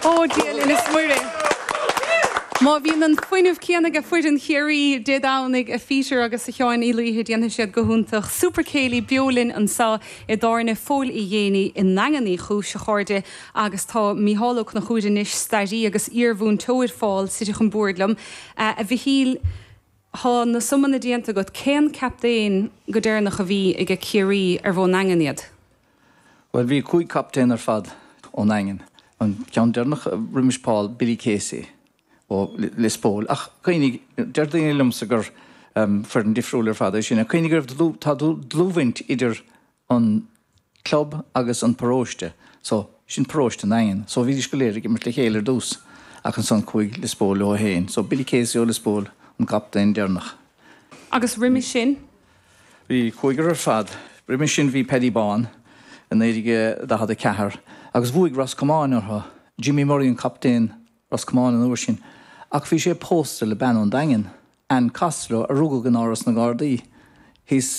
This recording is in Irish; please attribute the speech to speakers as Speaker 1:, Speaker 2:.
Speaker 1: Ó Dia linn is Muire! Má bhíonn an fuinneamh céanna ag foireann Chiarraí Dé Domhnaigh, a Pheter agus a Sheáin Uí Laoithe, déanfaidh siad go hiontach. Super Céilí beo linn anseo i dTábhairne Phóil Uí Ghéibheannaigh i nDaingean Uí Chúis, a chairde, agus tá Mícheál Ó Conchúir anois, stairí agus iarmhúinteoir Phól, suite chun boird liom. A Mhichíl, tá na sumanna déanta agat. Cén captaen go deireanach a bhí aige Ciarraí arbh ón nDaingean iad?
Speaker 2: Bhuel, bhí 5 captaen ar fad ón nDaingean. An ceann deireanach roimis Paul, Billy Casey ó Lios Póil. Ach cuimhnigh, deir daoine liomsa gur foireann difriúil ar fad é sin. Ach cuimhnigh go raibh, tá dlúthbhaint idir an club agus an paróiste. So, sin paróiste an Daingin. So bhídís go léir ag imirt le chéile ar dtús. Ach ansan chuaigh Lios Póil leo féin. So Billy Casey ó Lios Póil an captaen deireanach.
Speaker 1: Agus roimis sin?
Speaker 2: Bhí cúigear ar fad. Roimis sin bhí Paddy Bán i 1944 agus bhuaigh Ros Comáin orthu. Jimmy Murray an captaen Ros Comáin an uair sin ach bhí sé pósta le bean ón Daingean, Anne Costello, a rugadh in Áras na nGardaí thíos.